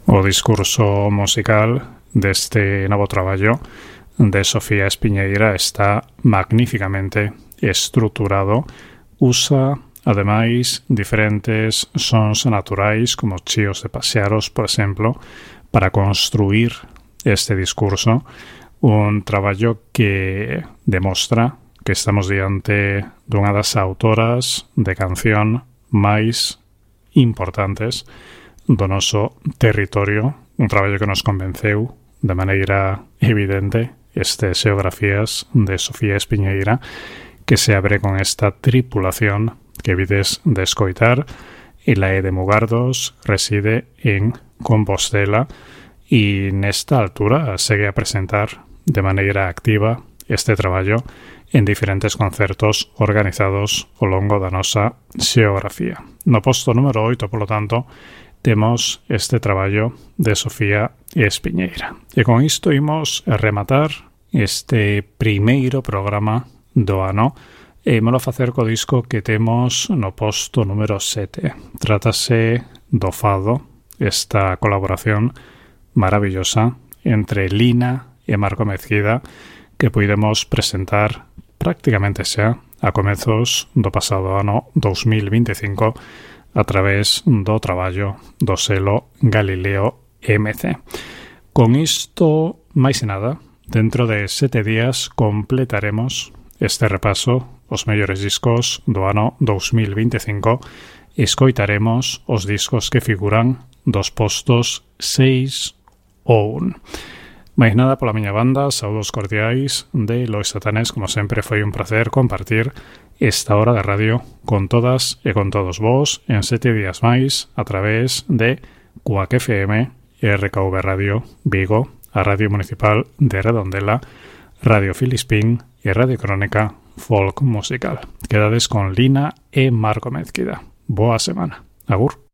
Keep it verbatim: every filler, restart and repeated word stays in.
o discurso musical deste novo traballo de Sofía Espiñeira está magníficamente estruturado. Usa, ademais, diferentes sons naturais como chíos de pasearos, por exemplo, para construir este discurso. Un traballo que demostra que estamos diante dunha das autoras de canción máis importantes do noso territorio, un traballo que nos convenceu de maneira evidente este Xeografías de Sofía Espiñeira, que se abre con esta tripulación que vides de escoitar. Ela é de Mugardos, reside en Compostela e nesta altura segue a presentar de maneira activa este traballo en diferentes concertos organizados ao longo da nosa xeografía. No posto número oito, polo tanto, temos este traballo de Sofía Espiñeira. E con isto imos a rematar este primeiro programa do ano e ímolo facer co disco que temos no posto número sete. Trátase do Fado, esta colaboración maravillosa entre Lina e Marco Mezquida que puidemos presentar prácticamente xa a comezos do pasado ano dous mil vinte e cinco a través do traballo do selo Galileo M C. Con isto, máis e nada, dentro de sete días completaremos este repaso os mellores discos do ano dous mil vinte e cinco e escoitaremos os discos que figuran dos postos seis ou un. Máis nada pola miña banda, saúdos cordiais de Lois Satanés. Como sempre foi un placer compartir esta hora de radio con todas e con todos vos en sete días máis a través de Cuac F M, R K V Radio Vigo, a Radio Municipal de Redondela, Radio Filispín e Radio Crónica Folk Musical. Quedades con Lina e Marco Mezquida. Boa semana. Agur.